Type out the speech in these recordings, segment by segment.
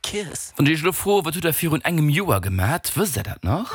Kiss. Wann ech iech elo froen, wat hutt der virun engem Joer gemat, wësst der dat nach?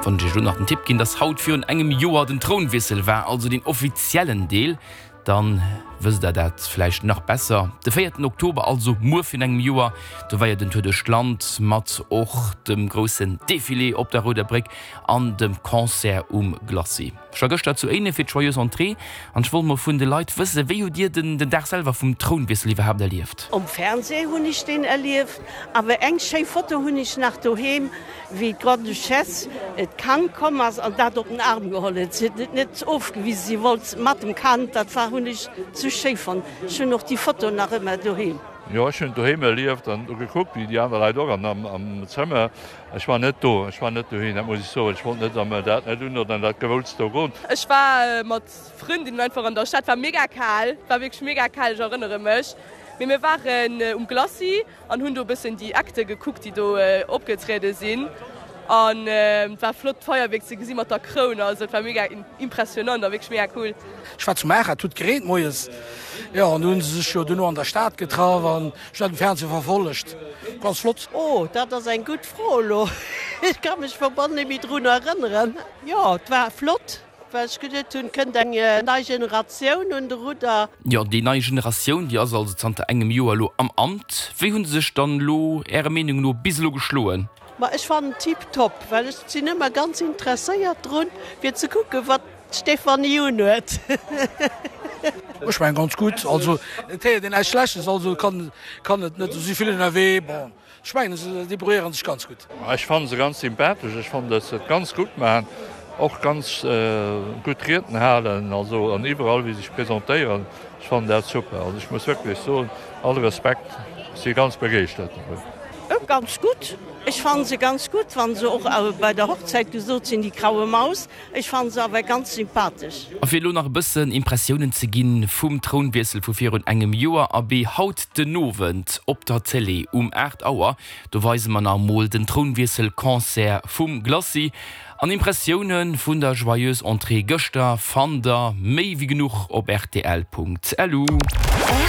Wann ech iech elo nach den Tipp ginn, dass haut virun engem Joer den Trounwiessel war, also den offiziellen Deel, dann wësst der dat vläicht nach besser. De véierten Oktober, also muer virun engem Joer, do war jo den Tour duerch d'Land mat och dem groussen Defilé op der Rouder Bréck an dem Concert um Glacis. Ech war gëschter zu Éinen fir d'Joyeuse Entrée an ech wollt mol vun de Leit wëssen, wéi hutt Dir den den Dag selwer vum Trounwiessel iwwerhaapt erlieft? Um Fernseh hunn ech deen erlieft, awer eng schéi Foto hunn ech nach doheem, wéi d'Grande-Duchesse d'Kand komm ass an dat op den Arm geholl huet. Si huet et net ofgewisen, si wollt mat dem Kand, dat war hunn ech zu schéi fonnt. Ech hunn och déi Foto nach ëmmer doheem. Jo, ech hunn et doheem erlieft an do gekuckt, wéi déi aner Leit och an am Zëmmer. Ech war net do, ech war net dohin, dat muss ech soen. Ech wollt net an dat net un oder an dat Gewulls do goen. Ech war mat Frëndinnen einfach an der Stad, war mega kal, war wierklech mega kal, ech erënnere mech. Mee mir waren um Glacis an hunn do e bëssen déi Acte gekuckt, déi do opgetriede sinn. An et war flott d'Feierwierk ze gesi mat der Kroun, also et war mega impressionant a wierklech mega cool. Ech war zu Maacher, et huet gereent moies, jo, an du hunn se sech jo duerno an der Stad getraff an ech hunn dat um Fernseh verfollegt. Ganz flott. Oh, dat ass eng gutt Fro elo. Ech ka mech verbonn net méi drun erënneren. Jo, et war flott, well ech geduet hunn, et kënnt eng nei Generatioun un de Rudder. Jo, déi nei Generatioun, déi ass also zanter engem Joer elo am Amt. Wéi hu se sech dann elo Ärer Meenung no bis elo geschloen? Ma ech fannen tip top, well ech sin ëmmer ganz interesséiert drun fir ze kucken wat d'Stéphanie un huet. Ech mengen ganz gutt, also et héiert een näischt Schlechtes, also kann kann et net, esou si vill ënnerwee, bon ech mengen se débrouilléieren sech ganz gutt. Ech fannen se ganz sympathesch, ech fannen dass se et ganz gutt maachen, och ganz gutt Rieden halen, also an iwwerall wéi se sech presentéieren, ech fannen dat super, also ech muss wierklech soen, all Respekt, si ganz begeeschtert dovun. Ganz gutt, ech fannen se ganz gutt, wann se och bei der Hochzäit gesot sinn, die graue Maus, ech fannen se awer ganz sympathesch. A fir elo nach e bëssen Impressiounen ze ginn vum Trounwiessel vu virun engem Joer, abee haut den Owend op der Télé um 8 Auer, do weise mer nach emol den Trounwiessel-Concert vum Glacis. An Impressioune vun der Joyeuse Entrée gëschter fannt der méi wéi genuch op rtl.lu.